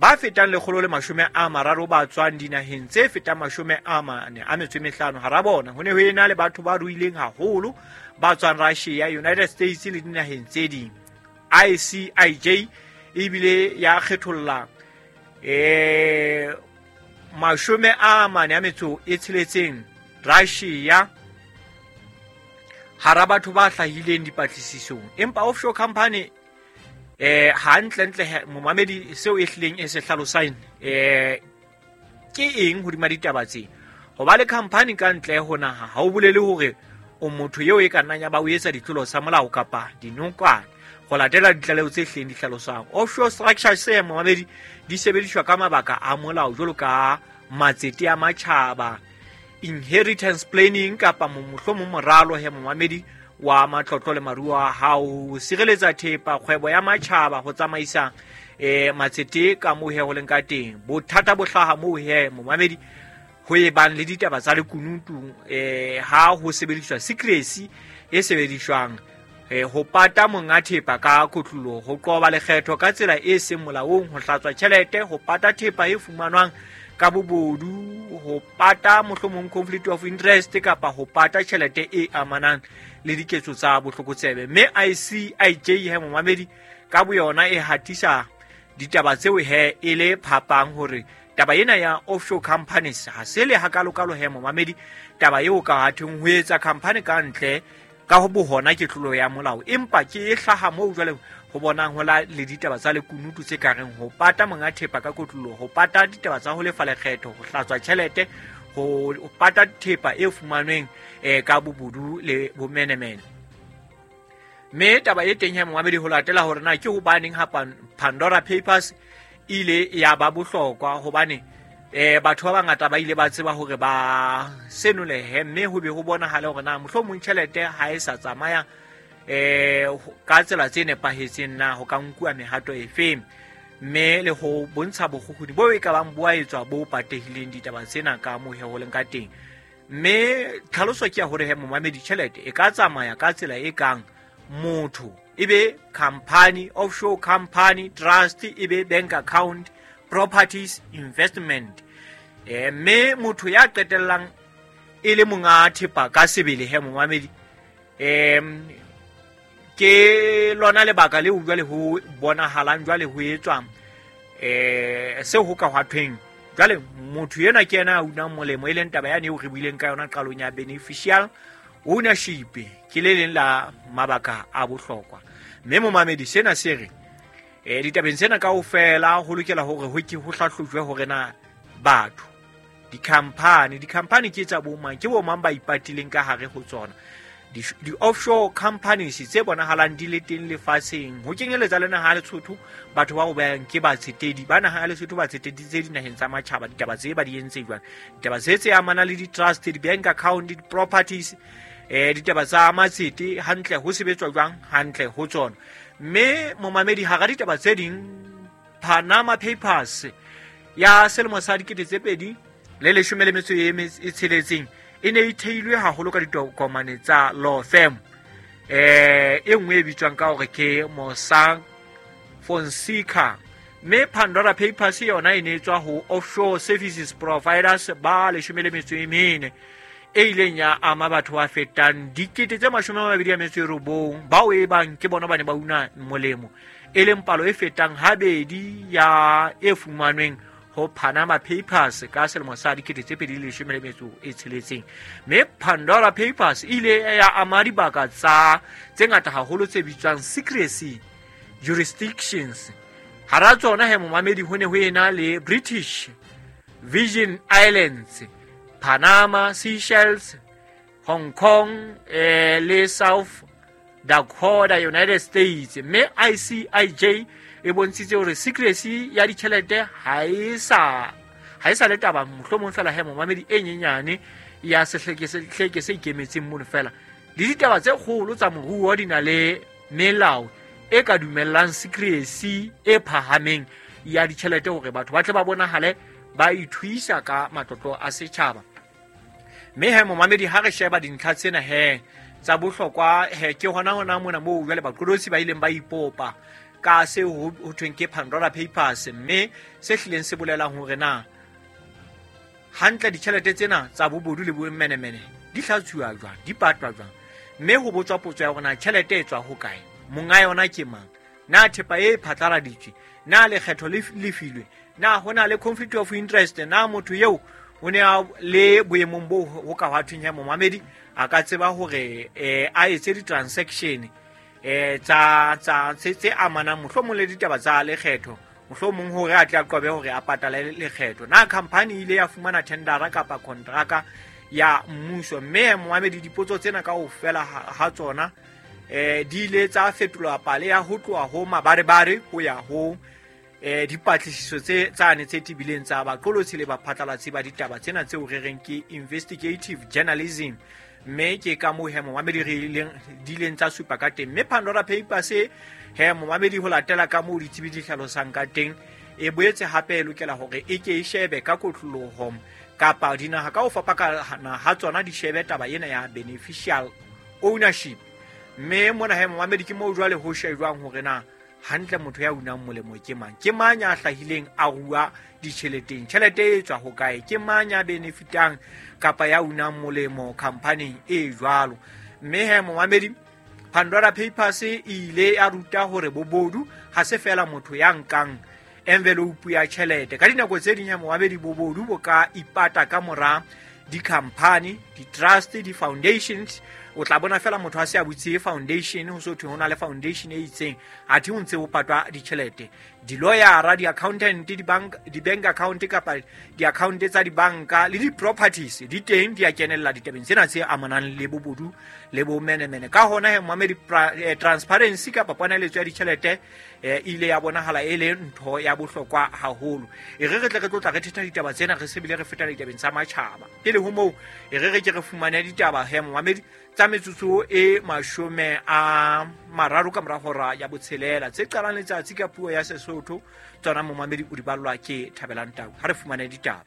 Ba fetang 130 ba tswang dinaheng tse fetang 45 hara bona ho ne ho ena le batho ba ruileng haholo ba tswang Russia, United States le dinaheng tse ding. ICIJ ebile ya kgetholla 46 Russia hara batho ba hlahileng dipatlisisong. Empa offshore company hantlentle momamedi seo e hlileng e se hlalosang ke eng hodima ditaba tse? Ho ba le company ka ntle ho naha ha o bolele hore o motho eo e ka nnang ya ba o etsa ditlolo tsa molao kapa dinokwane, ho latela ditlaleho tse hlileng di hlalosang. Offshore structures momamedi di sebediswa ka mabaka a molao jwalo ka matsete a matjhaba, inheritance planning kapa mohlomong moralo he momamedi wa matlotlo le maruo a hao, ho sireletsa thepa, kgwebo ya matjhaba, ho tsamaisa matsete ka moo he ho leng ka teng. Bothata bo hlaha moo he momamedi ho e bang le ditaba tsa lekunutu ha ho sebediswa secrecy e sebediswang ho pata monga thepa ka kotloloho, ho qoba lekgetho ka tsela e seng molaong, ho hlatswa tjhelete, ho pata thepa e fumanwang ka bobodu, ho pata mohlomong conflict of interest kapa ho pata tjhelete e amanang le diketso tsa botlokotsebe. Mme ICIJ he momamedi ka boyona e hatisa ditaba tseo he e le phapang hore taba ena ya offshore companies ha se le hakalokalo he momamedi, taba eo ka hatheng ho etsa company ka ntle ka ho bohona ke tlolo ya molao, empa ke e hlaha moo jwale ho bonang ho la le ditaba tsa lekunutu tse ka reng ho pata monga thepa ka kotloloho, ho pata ditaba tsa ho lefa lekgetho, ho hlatswa tjhelete, ho pata thepa e fumanweng ka bobodu le bomenemene. Mme taba e teng he momamedi ho latela hore na ke hobaneng ha Pandora Papers ile ya ba bohlokwa, hobane batho ba bangata ba ile ba tseba hore ba senolehe, mme ho be ho bonahale hore na mohlomong tjhelete ha e sa tsamaya ka tsela tse nepahetseng, na ho ka nkuwa mehato efeng, mme le ho bontsha bokgukguni bo e ka bang bo a etswa bo patehileng ditaba tsena ka moo he ho leng ka teng. Mme tlhaloso ke ya hore he momamedi tjhelete e ka tsamaya ka tsela e kang motho e be company, offshore company, trust, e be bank account, properties, investment. Mme motho ya qetellang e le monga thepa ka sebele he momamedi, ke lona lebaka leo jwale ho bonahalang jwale ho etswa seo ho ka hwa thweng jwale motho enwa ke yena a unang molemo, e leng taba yane eo re buileng ka yona qalong ya beneficial ownership, ke le leng la mabaka a bohlokwa. Mme momamedi sena se re ditabeng tsena kaofela ho lokela hore ho ke ho hlahlojwe hore na batho, di-company ke tsa bomang, ke bomang ba ipatileng ka hare ho tsona, di-offshore companies tse bonahalang di le teng lefatsheng, ho kenyeletsa le naha ya Lesotho, batho ba bang ke batsetedi ba naha ya Lesotho, batsetedi tse dinaheng tsa matjhaba, ditaba tse ba di entse jwang, ditaba tse tse amanang le di-trust, di-bank account, di-properties, ditaba tsa matsete hantle ho sebetswa jwang hantle ho tsona. Mme momamedi hara ditaba tse ding, Panama Papers ya selemo sa 2016 e ne e theilwe haholo ka ditokomane tsa law firm e nngwe e bitswang ka hore ke Mossack Fonseca. Mme Pandora Papers yona e ne e tswa ho offshore services providers ba 14 e ileng ya ama batho ba fetang 29,000 bao e bang ke bona ba ne ba una molemo, e leng palo e fetang habedi ya e fumanweng ho Panama Papers ka selemo sa 2016. Mme Pandora Papers e ile ya ama dibaka tsa tse ngata haholo tse bitswang secrecy jurisdictions. Hara tsona he momamedi ho ne ho ena le British Virgin Islands, Panama, Seychelles, Hong Kong le South Dakota, United States. Mme ICIJ e bontshitse hore secrecy ya ditjhelete ha e sa le taba mohlomong fela he momamedi e nyenyane ya sehleke se ikemetseng mono fela, le ditaba tse kgolo tsa moruo di na le melao e ka dumellang secrecy e phahameng ya ditjhelete hore batho ba tle ba bonahale ba ithuisa ka matlotlo a setjhaba. Mme he momamedi ha re sheba dintlha tsena he tsa bohlokwa he ke hona hona mona moo jwale baqolotsi ba ileng ba ipopa. Ka seo ho thweng ke Pandora Papers, mme se hlileng se bolelang hore na hantle ditjhelete tsena tsa bobodu le bomenemene di hlatsuwa jwang, di patwa jwang, mme ho botswa potso ya hore na tjhelete e tswa hokae, monga yona ke mang, na thepa e phatlaladitswe, na lekgetho le lefilwe, na ho na le conflict of interest, na motho eo o ne a le boemong boo ho ka hwa thweng ya momamedi a ka tseba hore a etse di-transaction tsa tsa tse amanang mohlomong le ditaba tsa lekgetho, mohlomong hore a tle a qobe hore a patale lekgetho. Na company ile ya fumana tendera kapa kontraka ya mmuso? Mme momamedi, dipotso tsena kaofela ha tsona di ile tsa fetolwa pale ya ho tloha ho mabarebare ho ya ho dipatlisiso tse tsane tse tebileng tsa baqolotsi le baphatlalatsi ba ditaba tsena tseo re reng ke investigative journalism. Mme ke ka moo he momamedi re di ileng tsa supa ka teng. Mme Pandora Papers he momamedi, ho latela ka moo ditsebi di hlalosang ka teng, e boetse hape e lokela hore e ke e shebe ka kotloloho kapa dinaha ka ho fapana ha tsona di shebe taba ena ya beneficial ownership. Mme mona he momamedi ke moo jwale ho shejwang hore na hantle motho ya unang molemo ke mang, ke mang ya hlahileng a rua ditjheleteng, tjhelete e tswa hokae, ke mang ya benefitang kapa ya unang molemo khamphaning e jwalo. Mme he momamedi, Pandora Papers e ile ya ruta hore bobodu ha se fela motho ya nkang envelope ya tjhelete. Ka dinako tse ding he momamedi, bobodu bo ka ipata ka mora di-company, di-trust, di-foundations. O tla bona fela motho a se a butse foundation, ho so thwe ho na le foundation e itseng, athe ho ntse ho patwa ditjhelete. Di-lawyera, di-accountant, di-bank account kapa di-account tsa dibanka le di-properties di teng, di a kenella ditabeng tsena tse amanang le bobodu le bomenemene. Ka hona he momamedi, transparency kapa ponaletso ya ditjhelete ile ya bonahala e le ntho ya bohlokwa haholo. E re re tle re tlo tla re thetha ditaba tsena, re se bile re feta ditabeng tsa matjhaba. Pele ho moo, e re re ke re fumane ditaba he momamedi tsa metsotso e 30 ka mora hora ya 6 tse qalang letsatsi ka puo ya Sesotho. Tsona momamedi o di ballwa ke Thabelang Tau. Ha re fumane ditaba.